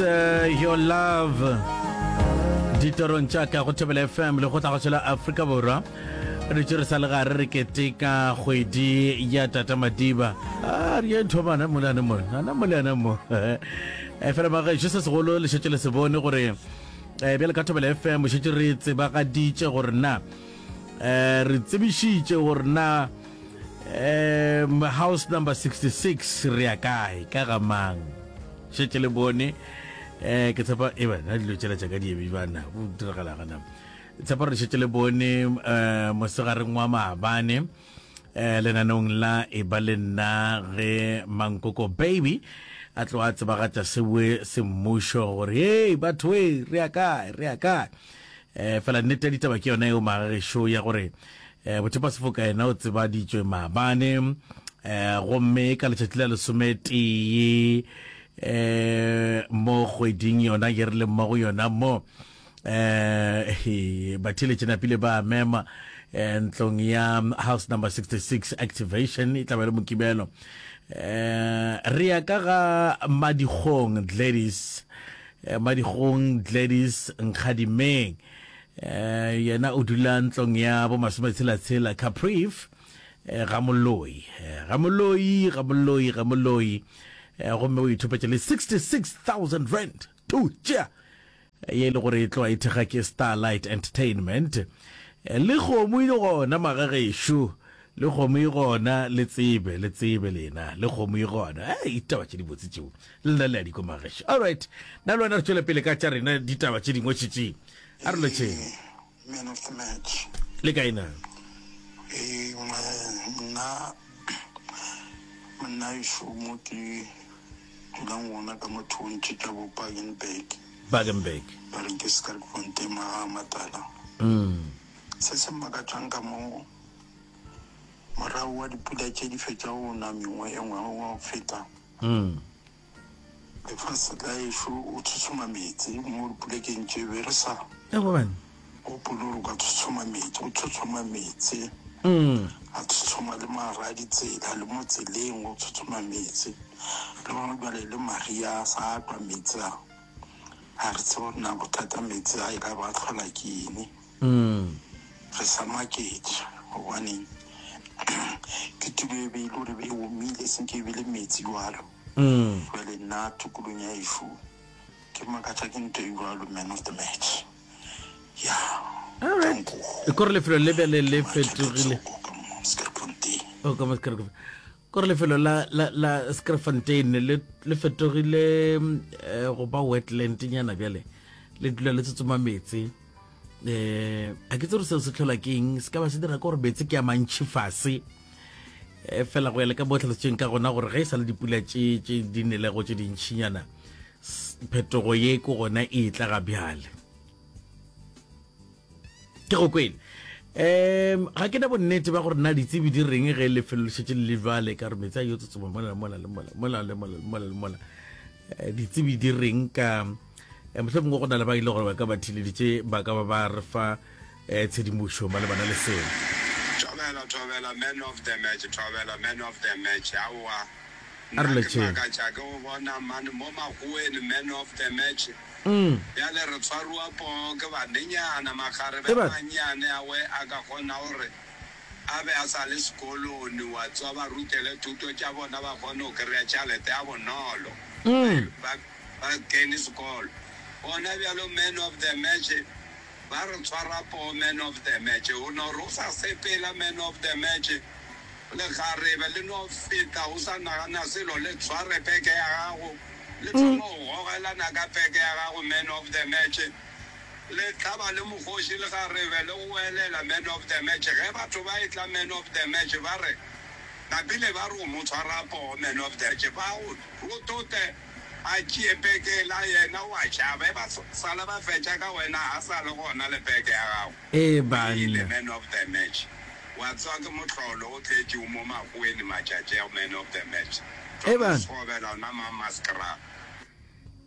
Your Love ditorong tša ka go Thobela FM le go tla go tšwela Afrika Borwa re tše re sa le gare re keteka kgwedi ya Tata Madiba a re ye thomana molane mo ana molane mo e fela magešo se segolo le šetše le se bone gore eh, bjale ka Thobela FM šetše re tsebagaditše gore na eh, re tsebišitše gore na um house number 66 re ya kae ka ga mang Šetše le bone eh ke tshepa e bana dilo tšela tša ka di ebe bana go diragala gana tshepa re šetše le bone eh mosegareng wa maabane eh lenaneong la e ba le nna ge mankoko baby a tlo a tsebagatša sewe semmušo gore hey batho e re ya kae re ya kae eh fela nnete ya ditaba ke yona eo magagešo ya gore eh bothepa sefoka yena o tsebaditšwe maabane eh gomme ka letšatši la lesometee eh mo kgweding yona ye re leng mo go yona mo eh batheeletši napile ba mema eh, ntlong ya house number 66 activation e tla ba le mokibelo eh re ya ka ga madikgong Gladys eh, madikgong Gladys Nkgadimeng eh yena o dula ntlong ya bo masometshela-tshela Capriv eh, ga Moloi eh, ga Moloi ga Moloi ga Moloi eh, gomme o ithopetše le 66000 rand tu tšea ye e le gore e tloga e thekga ke Starlight Entertainment eh, le kgomo e gona magagešo le kgomo e gona le tsebe le tsebe lena le kgomo e gona ei ditaba tše dibotse tšeo le nna le a di kwa magešo alright nna le wena re tšwele pele ka tša rena ditaba tše dingwe tšetšeng a re lotšheng Man of the match. Le kae na? Ee, nna monna ešo mo ke dulang gona ka mo thontše tša bo Bakenberg. Bakenberg. Ba re ke Skerkfontein maga a matala. Se se mmakatšang ka mo morago wa dipula tše di fetšago go na mengwe e ngwaga wa go feta. Lefase la ešo o tshotshoma meetse mo dipolekeng tše be re sa gopole gore o ka tshotshoma meetse, o tshotshoma meetse a tshotshoma le magare a ditsela le mo tseleng o tshotshoma meetse le gona bjale le maria a sa a twa meetse a ga re tsebe gore na bothata meetse a e ka ba a tlhola ke eng. Re sa maketše gobane ke tulo e be e le gore e omile seng ke e be le metsi jwalo. Jwale nna tokolong ya ešo ke makatša ke nto e jwalo man of the match. Ya. Alright. Kore lefelo le bjale le fetogile. Oh, ka mo Skerkfontein. Kore lefelo la la la Skerkfontein le le fetogile eh, go ba wetland nyana bjale. Le dula le tsotsoma metsi. Eh, a ke tsere seo se tlhola ke eng se ka ba se dira ke gore meetse ke a mantšhi fase eh, fela go ya le ka mo tlhalositsweng ka gona gore ge e sa le dipula tše tše di nelego tše dintšhinyana phetogo ye ko gona e tla ga bjale ke go kwele um ga ke na bonnete ba gore na ditsebi di reng ge lefelo le šetše le le jwale ka gore meetse a yo tsotsoma mola le mola le mola mola le mola le mola le mola eh, ditsebi di reng ka eh, mohlomongwe go na le ba ile gore ba ka ba theleditše ba ka ba ba re fa eh, tshedimošo malebana le seo. Thobela thobela man of the match thobela man of the match aowa A re nna ke lotšheng. makatša ke go bona mane mo makgoweng man of the match bjale re tshwariwa poo ke banenyana makgarebe a Eba. mannyane awe a ka kgona gore a be a sa le sekolong wa tswa ba rutele thuto tša bona ba kgone go kry-a tšhalete ya bonolo ba Ba kene sekolo gona bjalo man of the match ba re tshwara poo man of the match o no re o sa sepela man of the match lekgarebe le no feta o sa nagana selo le tshware peke ya gago le thoma go gogelana ka peke ya gago man of the match le hlaba le mokgoši lekgarebe le goelela man of the match ge batho ba etla man of the match ba re napile ba re o mo tshwara poo man of the match ba go rotote A tšee peke la yena o a tšhaba. E ba sala ba fetša ka wena a sa le gona le peke ya gago. Ee O ile banna. man of the match. Wa tseba ke mohlolo o tletše o mo makgoweng matšatši a man of the match. Ee Thoma banna. Sekgobela ona Mamaskral.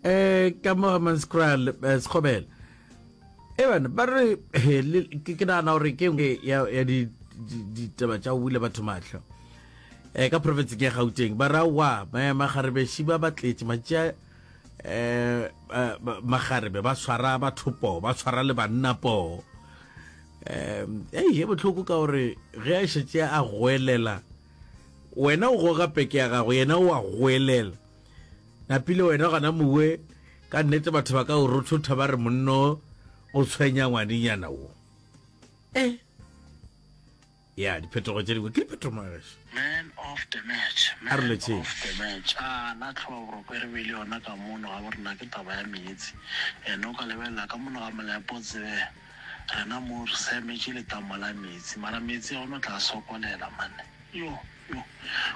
Eh ka mo Hammanskraal eh, Sekgobela. Ee bana ba re he, le- ke ke nagana gore ke nngwe ya ya di di- ditaba tša go bula batho mahlo. Eh ka profenseng ya Gauteng ba ra wa magarebe ba ba tletše matšea eh magarebe ba tshwara batho poo, ba tshwara le banna poo. Um ei e bohloko ka gore ge a šetše a goelela wena o goga peke ya gago yena o a goelela napile wena gona mowe ka nnete batho ba ka o rothotha ba re monno o tshwenya ngwanenyana wo eh ya diphetogo tše dingwe ke diphetogo magageso Man of the match, A re man lotšheng. of the match. A na tlhoba boroko e re beile yona ka mono ga borena ke taba ya meetse. Ene o ka lebelela ka mono ga Molepo o tsebe rena mo re sa emetše letamo la meetse. Mara meetse a ona o tla sokolela man. Yo, yo.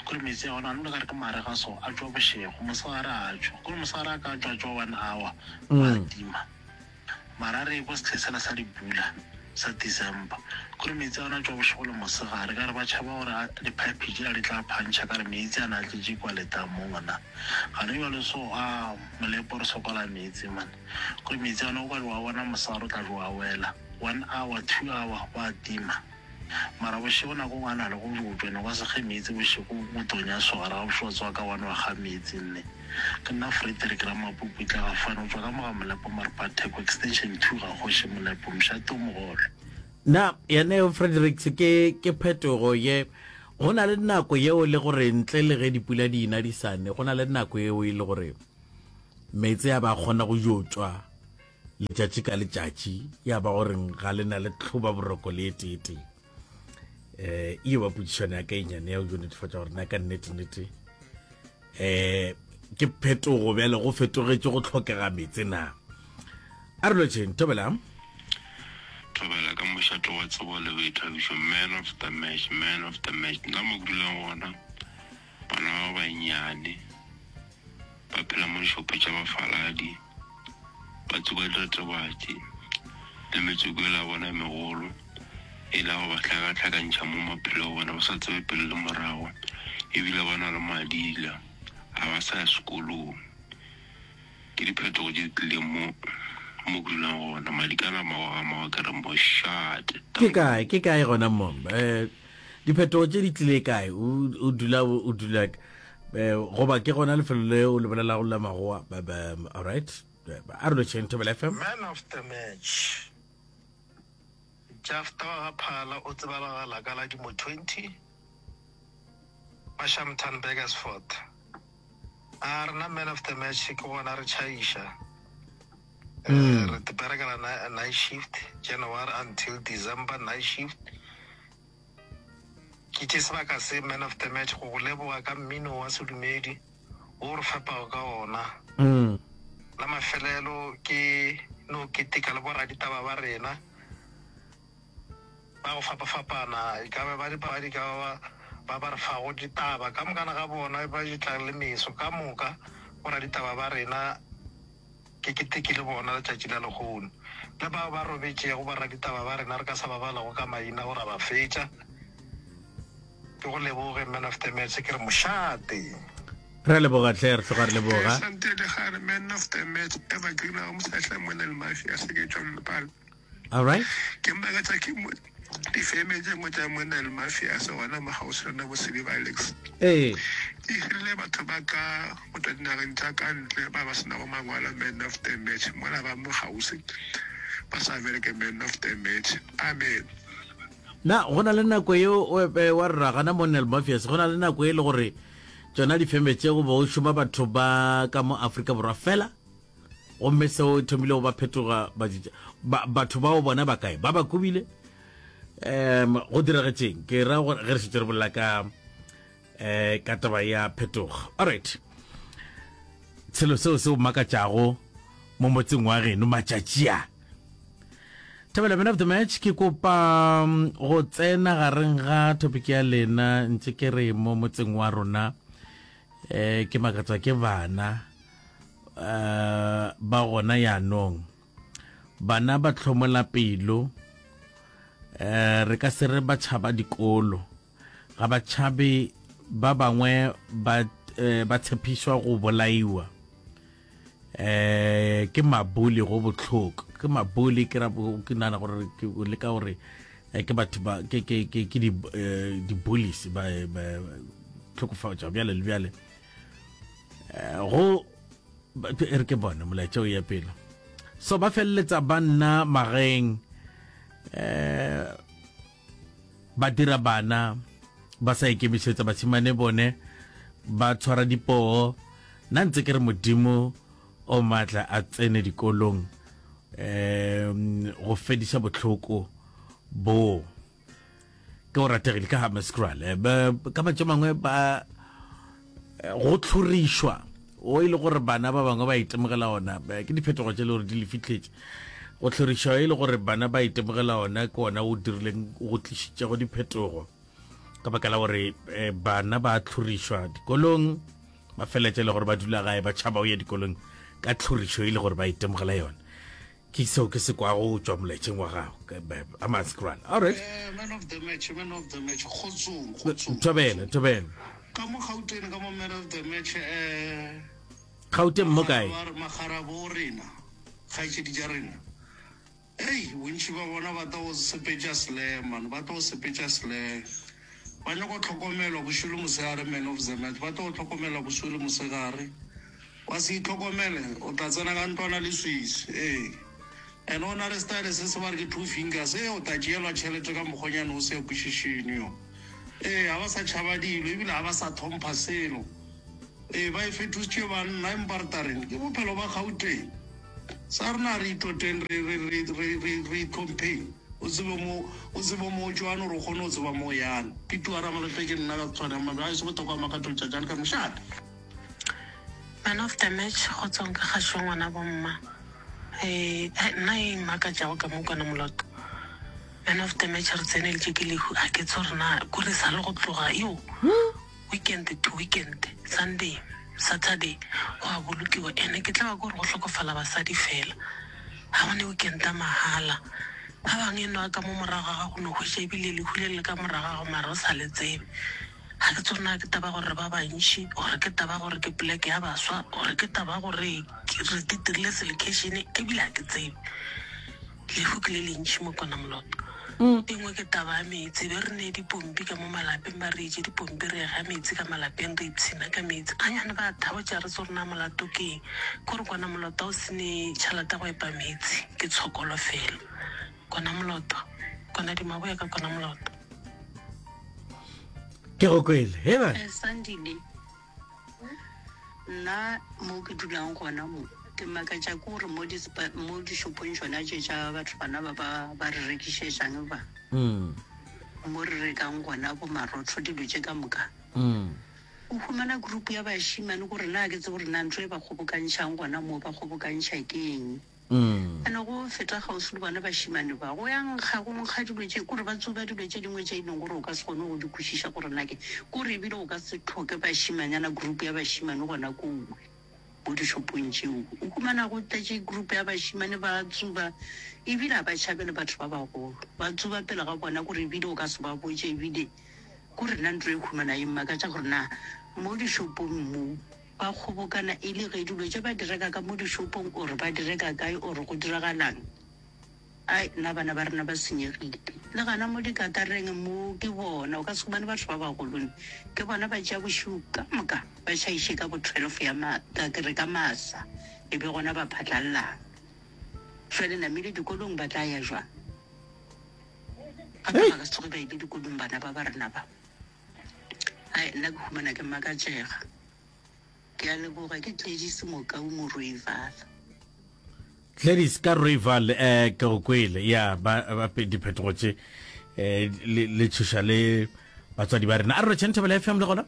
Kore meetse a ona a no le ka re ke marega so a tšwa bošego, mosegare a tšwa. Kore mosegare a ka tšwa a tšwa one hour ba tima. Mara re ekwa sehleng sela sa dipula sa December, kore meetse a ona a tšwa bošego le mosegare, ka re ba tšhaba gore a diphaephe tšela di tla phantšha, ka re meetse a na a tletše kua letamong na. Gane bjalo so a molepo re sokola meetse man, kore meetse a ona o ka re wa bona mosegare o tla re wa wela, one hour, two hour wa tima. Mara bošego nako nngwe a na le go botšwa, ne gwa se ge meetse bošego go tonya so gare ga bošego wa tsoga ka one wa ga meetse nne. Ke nna Frederick Ramapuputla ga fane go tšwa ka mo ga Molepo Maripa Theko Extension 2 ga Kgoši Molepo Mošate o mogolo. Na yena Fredericks ke ke phetogo ye go na le nako yeo le gore ntle le ge dipula di ina di sa ne go na le nako yeo e le gore meetse a ba kgona go yo tšwa letšatši ka letšatši ya ba gore ga le na le tlhoba boroko le eteetee um e ba potšišano ya ka e nyane ya go netefatša gore na ka nnete-nnete um ke phetogo bjale go fetogetše go tlhokega meetse na a re lotšheng thobela thobela ka mošato wa tsebo le boithabišo man of the match man of the match nna mo ke dulang gona bana ba bannyane ba phela mo dišopo tša bafaladi, ba tsuba diretebatši le metsoko yela ya bona e megolo, e la go ba hlakahlakantšha mo maphelong a bona, ba sa tsebe pele le morago, ebile ba na le madila, ga ba sa ya sekolong. Ke diphetogo tše di tlileng mo mo ke dulang gona. Madi ka la mawa ga mawa ke re mošate. Ke kae ke kae gona mo eh diphetogo tše di tlile kae o o dula o dula eh goba ke gona lefelo le o le bolelago la magoa all right a re lotšheng Thobela FM. Man of the match Jafta wa ga Phala o tsebalagala ka la dimo 20 wa Shamtan Burgersfort. A rena man of the match ke gona re tšhaiša. Eh, re berekela night shift January until December night shift. Ke tše sebaka se man of the match go go leboga ka mmino wa sedumedi wo re fepago ka ona. La mafelelo ke no keteka le boraditaba ba rena. Ba go fapafapana, e ka ba ba dipapadi, e ka ba ba ba re fago ditaba, ka mokana ga bona ba di tlang le meso, ka moka boraditaba ba rena ke keteke le bona letšatši la lehono. Le bao ba robetšego boraditaba ba rena re ka sa ba balago ka maina go ra ba fetša. Ke go leboge man of the match, ke re mošate. Re a leboga hle, re tloga re leboga. Sante Legare, man of the match, Evergreen a go mosehla mona le mafia se ke tšwa Mpala. All right. Ke makatša ke mo difeme tše nngwe tša monna le mafia se gona mo kgauswi le rena bo Seliba Alex. Ee. Di hirile batho ba ka go tšwa dinageng tša ka ntle ba ba se nago mangwalo man of the match mola ba mo kgauswi ba sa bereke man of the match. Amen. Na go na le nako yeo wa re ra gana mo Nel Mafias go na le nako e le gore tšona difeme tše go bo šoma batho ba ka mo Afrika Borwa fela? Gomme seo e thomile go ba phetoga ba, batho bao bona ba kae? Ba ba kobile? Um, go diragetšeng? Ke ra gore ge re šetše re bolela ka eh ka taba ya phetogo. All right. Selo seo se o makatšago mo motseng wa geno matšatši a. Thabela man of the match ke kopa mm, go tsena gareng ga topic ya lena ntse ke re mo motseng wa rona eh ke makatswa ke bana uh, ba gona yanong bana ba hlomola pelo eh re ka se re ba tšhaba dikolo ga ba tšhabe ba bangwe ba eh, ba tshepišwa go bolaiwa eh ke mabuli go bohloko ke mabuli ke ra ke nana gore ke leka gore eh, ke batho ba ke ke ke ke di eh, di bullies ba ba tlhokofatša bjale le bjale Eh, go e re ke bone molaetša o ya pele. So ba feleletsa ba nna magaeng eh ba dira bana ba sa ikemišetsa bašemane bone ba tshwara dipoo nna ntse ke re modimo o maatla a tsene dikolong um go fediša bohloko bo ke o rategile ka Hammanskraal eh, ka matša mangwe ba eh, go tlhorišwa o e le gore bana ba bangwe ba itemogela ona eh, ke diphetogo tše le gore di le fitlhetše go tlhorišwa e le gore bana ba itemogela ona ke ona o dirileng go tlišitšego diphetogo ka baka la gore bana ba tlhorišwa dikolong ba feletše le gore ba dula gae ba tšhaba o ya dikolong ka tlhorišo e le gore ba itemogela yona Ke seo ke se kwago go tšwa molaetšeng wa gago. Hammanskraal. All right. Eh, man of the match, man of the match. Kgotsong, kgotsong. Thobela, thobela. Ka mo Gauteng ka mo man of the match eh Gauteng mo kae? Magarabo rena, kgaetšedi tša rena. Ei, bontši ba bona ba tlo sepetša slang man, ba tlo sepetša slang. Ba nyaka go hlokomelwa bošego le mosegare man of the match, ba tlo hlokomelwa bošego le mosegare. Wa se itlhokomele, o tla tsena ka ntlwana leswiswi. Ee. And o na le style se se ba re ke two fingers. Ee, o tla tšeelwa tšhelete ka mokgonyane o se kwešišeng yo. Ee, ga ba sa tšhaba dilo ebile ga ba sa thompha selo. Ee, ba e fetositše banna empa re tla reng? Ke bophelo ba Gauteng. Sa rena a re itoteng re, re, re, re, re, re itlhompheng. O tsebe mo, o tsebe mo o tšwang gore o kgone go tseba mo o yang. Pituwa Ramalope ke nna ka Tshwane ya Mabje. Gaešo Bothoko wa Makatho Letšatšane ka mošate. Man of the match go tswang ka gašo ngwana bomma eh nna e mmakatšago ka mo kwana moloto man of the match re tseneletše ke lehu a ke tse gore na kore sa le go tloga yo weekend to weekend sunday saturday go a bolokiwa ene ke tla ba kore go hlokofala basadi fela ga gone weekend a mahala ba bangwe e nwa ka mo morago ga gago no hwetša ebile lehu le le ka morago ga gago mara o sa le tsebe Ga ke tsebe na ke taba gore re ba bantši, or ke taba gore ke poleke ya baswa, or ke taba gore re itirile selekheišene, ebile ga ke tsebe. Lehu ke le lentši mo Kwana Moloto. E nngwe ke taba ya meetse. Be re ne dipompi ka mo malapeng, ba re etše dipompi, re ega meetse ka malapeng, re ipshina ka meetse. Ganyane ba thabotša re tse gore na molato ke eng. Ke gore Kwana Moloto ga o se ne tšhelete ya go epa meetse, ke tshokolo fela. Kwana Moloto, Kwana Dimaboya ka Kwana Moloto. Ke go kwele. He ba. Eh, Sandile, nna mo ke dulang gona mo ke makatša ke gore mo mo dishopong tšona tše tša batho bana ba ba ba re rekišetšang ba mm. mo re rekang gona bo marotho dilo tše ka moka mm. o humana group ya bašimane gore na ke tse gore na ntho e ba kgobokantšhang gona mo ba kgobokantšha ke eng Ene go feta kgauswi le bona bašemane ba, go ya nkga, go nkga dilo tše, kore ba tsuba dilo tše dingwe tše e leng gore o ka se kgone go di kwešiša gore na ke, kore ebile o ka se hloke bašemanyana, group ya bašemane gona koo mo dishopong tšeo. O humana go tletše group ya bašemane ba tsuba, ebile ga ba tšhabe le batho ba bagolo, ba tsuba pele ga bona, kore ebile o ka se ba botše, ebile kore nna ntho e humana e mmakatša gore na mo dishopong mo, Ba kgobokana e le ge dilo tše ba di reka ka mo dishopong or ba di reka kae or go diragalang? Ai nna bana ba rena ba senyegile. Le gana mo dikatareng mo ke bona o ka se humane batho ba bagolo ne ke bona ba tšea bošego ka moka ba tšhaiše ka bo 12 ya ma ka ke re ka masa e be gona ba phatlallang. Jwale namile dikolong ba tla ya jwang? Gape ba ka se tsoge ba ile dikolong bana ba ba rena ba. Ai nna ke humana ke makatšega. Ke a leboga ke Gladys Mokau mo Rooivaal. Gladys ka Rooivaal eh ke go kwele ya ba ba diphetogo tše eh le le tšhoša le batswadi ba rena. A re rotšheng Thobela FM le gona?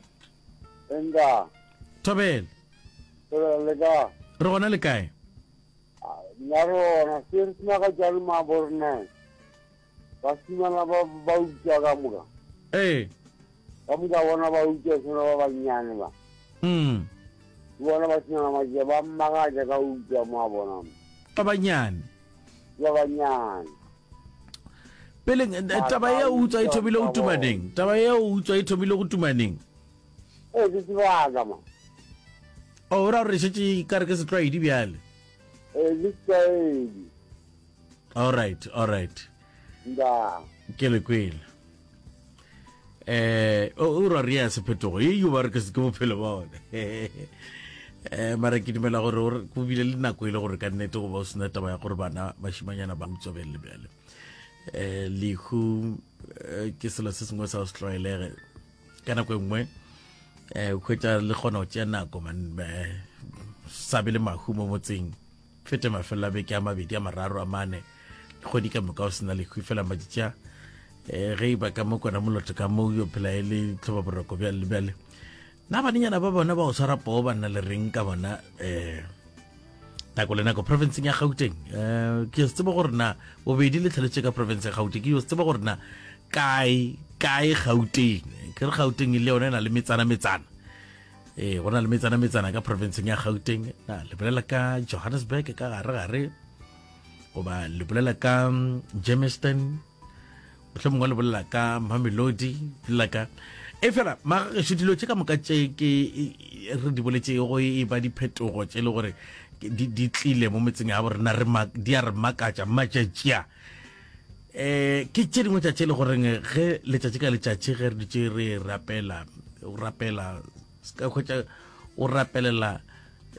Enga. Thobela. Thobela le ka. Re gona le kae? Nna re gona se re sena ka tšale ma bo rena. Bašimana ba ba utswa ka moka. Ee. Ka moka bona ba utswa sona ba bannyane ba. Mm. Ke bona bašimana ba tše ba mmakatša ka utswa mo a bona. Ba bannyane. Ba bannyane. Pele eh, taba ya utswa e thomile go tumaneng. Taba ya utswa e thomile go tumaneng. Ee, ke sebaka ma. O ra gore šetše ka re ke setlwaedi bjale. Ee, ke setlwaedi. All right, all right. Nda. Ke le kwele. Eh, o o ra ria sephetogo. E yo ba re ke se ke bophelo ba ona. Um mara ke dumela gore go bile le nako e le gore ka nnete go ba o sena taba ya gore bana bašimanyana ba utswa bjale le bjale. Um lehu eh, ke selo se sengwe sa go se tlwaelege ka nako e nngwe um o hwetša le kgona go tšea nako man eh, sa be le mahu mo motseng fete mafelelo a beke a mabedi a mararo a mane kgwedi ka moka o sena lehu fela matšatši a um ge e ba ka mo kona moloto ka mo yo phela e le tlhoba boroko bjale le bjale na banenyana ba bona ba go tshwara poo ba nna le reng ka bona um nako le nako provinceng ya gauteng um ke se tseba gore na bobedi le tlhaletse ka province ya gauteng ke yo se tseba gore na kae kae gauteng ke re gauteng e le yone e na le metsana metsana ee go na le metsana metsana ka provinceng ya gauteng na le bolela ka johannesburg ka gare gare goba le bolela ka mm, germiston mohlomongwe le bolela ka mamelodi bolela ka e fela magagešo dilo tše ka moka tše ke re di boletšego e ba diphetogo tše e le gore di tlile mo metseng ya borena di a re makatša matšatši a um ke tše dingwe tša tše e le goreng ge letšatši ka letšatši ge re dutše re rapela o rapela se ka hwetša o rapelela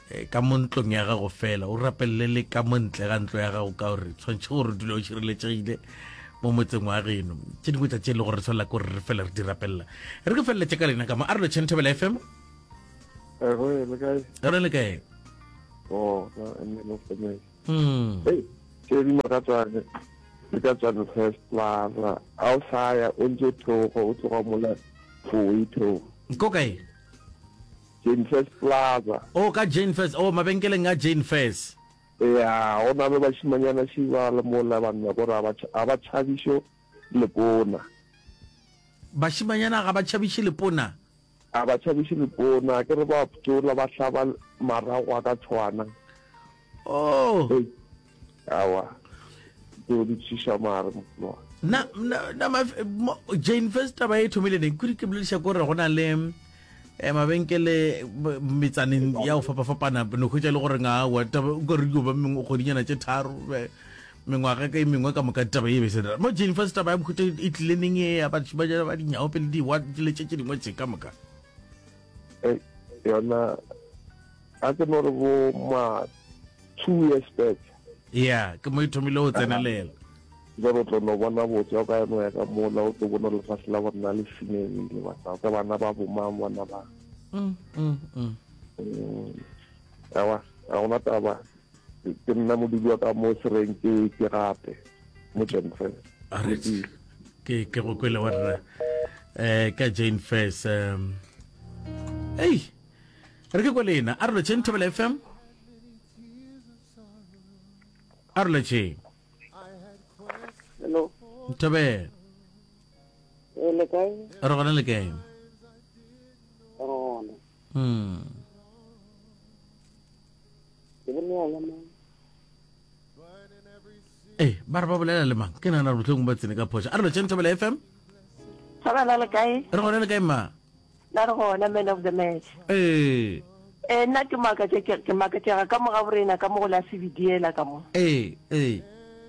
eh, ka mo ntlong ya gago fela o rapelele le ka mo ntle ga ntlo ya gago ka gore tshwanetse gore o dule o šireletšegile mo motseng wa geno tše dingwe tša tše e le gore re tshwanela ke gore re fele re di rapelela re ke feleletše ka lena ka mo a re lotšheng thobela fm re le kae oh, mm. tše di makatsang di ka tswa first plaza a o sa ya o ntse o theoga o tloga mola foe theoga ko kae Jane First Plaza. Oh, ka Jane First. Oh, mabenkeleng a Jane First. Ya, go na le bašimanyana šiba le mola banna kore a ba tšhabišo lepona. Bašimanyana ga ba tšhabiše lepona? A ba tšhabiše lepona, ke re ba ptsola ba hlaba marago a ka tshwana. Oh. Hey, awa. Tseo di tšhiša mare mogolo wa. Na na na ma, mo, Jane First taba e thomile neng? Kudu ke bolediša gore go na le eh, mabenkele metsaneng ya go fapafapana no hwetša e le gore nga wa taba o ka re dio ba mengwe kgwedinyana tše tharo mengwaga ka e mengwe ka moka taba e be se mo Jane First taba ya mohuta e tlile neng e ya batho ba ba dinyaope pele di wa le tše tše dingwe tše ka moka eh, yona a ke no re bo ma two years back ya ke mo e thomile go tsenelela jalo o tlo no bona botse o ka eno ya ka mola o tlo bona lefase la bona le senyegile bana ka bana ba bomang bona ba mm, mm, mm. mm. awa ga gona taba ke nna modudi wa ka mo sereng ke ke gape mo Jane Fair ke ke go kwele wa rra eh ka Jane Fair um ei Re ke kwa lena. A re lotšheng Thobela FM. A re lotšheng. Hello. Thobela. E le kae? Re gona le kae? Re gona. Mm. Ke bolela le mang? Eh, ba re ba bolela le mang? Ke nagana gore mohlomongwe ba tsene ka phošo. A re lotšheng Thobela FM. Thobela le kae? Re gona le kae mma? Na re gona man of the match. Ee. Ee, nna ke makatša ke, ke makatšega ka mo gaborena ka mo go la Sebidiela ka mo. Ee, ee.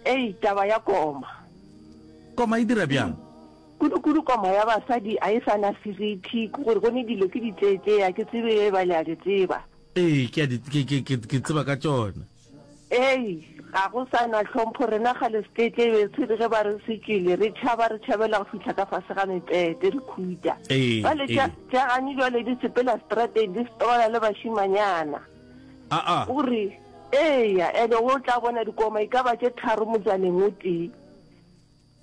Ei, taba ya koma. Koma e dira bjang? Kudu-kudu koma ya basadi a e sa na seriti, ke gore go ne dilo ke ditšeetšea, ke tsebe ge ba le a di tseba. Ee, ke a di, ke, ke, ke, ke tseba ka tšona. Ei, ga go sa na tlhompho, rena kgale setetle e be se re ge ba re se tšwele, re tšhaba, re tšhabela go fihla ka fase ga mepete, re khuta. Ee, Bjale tša, ee. tša gane bjale di sepela strateng, di strola le bašimanyana. Aa. O re, Eya, ene o tla bona dikoma e ka ba tše tharo motsaneng o tee.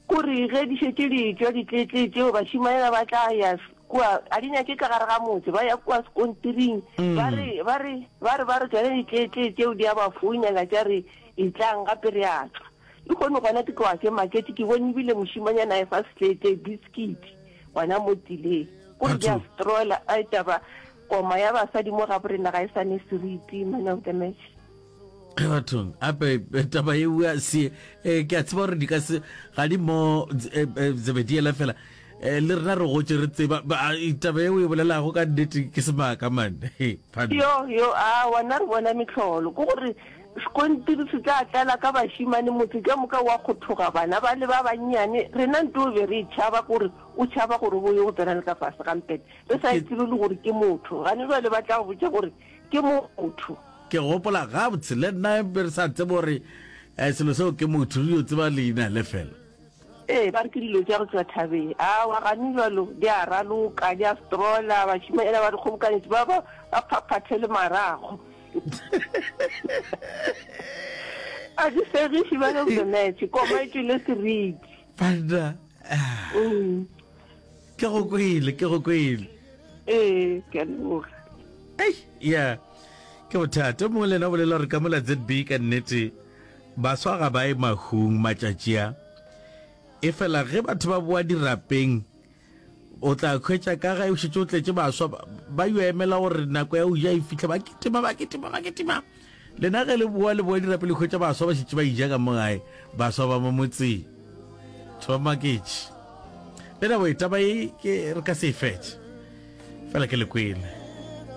Kore ge di šetše di etšwa ditletle tšeo, bašemanyana ba tla ya kua, a di nyake ka gare ga motse, ba ya kua sekontiring, ba re, ba re, ba re, ba re tšona ditletle tšeo di a ba founela tša re, Etlang gape re a tšwa. Lehono gona ke tloga ke maketše, ke bone ebile mošemanyana a efa setletle biskiti gona mo tseleng. Kore di a strola, ai taba, koma ya basadi mo gaborena ga e sa ne seriti, man of the match. Ge bathong ape eh, taba e bua se eh, ke a tseba gore di ka se ga di mo eh, eh, zebediela fela eh, le rena re gotse re tseba ba- a, e, taba e o e bolelago ka nnete ke semaka man He, pardon. Yo, yo, a wena re bona mehlolo. Ke gore sekontiri se tla tlala ka bašemane, motse ka moka wa kgothoga, bana ba le ba bannyane. Rena nto e be re e tšhaba, ke gore o tšhaba gore o yo go tsena le ka fase ga mpete. Re sa e Ke- tsebe le gore ke motho. Gane jwale ba tla go botša gore. Ke motho. Ke gopola gabotse le nna be re sa tsebe gore eh, selo seo ke motho, re yo tseba leina le fela. Ee, ba re ke dilo tša go tšwa thabeng. Aowa, gane bjalo di a raloka, di a strola, bašimanyana ba di kgobokanetše, ba ba ba phaphathe le marago. A di segiše man of the match, koma e tšwele seriti. Banna, ah. Mm. Ke go kwele, ke go kwele. Ee, ke a leboga. Ei, ya. Ke bothata. O mongwe le yena o bolela gore ka mola ZB ka nnete baswa ga ba ye mahung matšatši a. Efela ge batho ba boa dirapeng o tla hwetša ka ge o šetše o tletše baswa ba yo emela gore nako ya go ja e fihle ba kitima ba kitima ba kitima. Lena ge le boa le boa dirapeng le hwetša baswa ba šetše ba ija ka mo gae, baswa ba mo motseng. Batho ba maketše. Le nabo e taba e ke re ka se e fetše. Fela ke le kwele.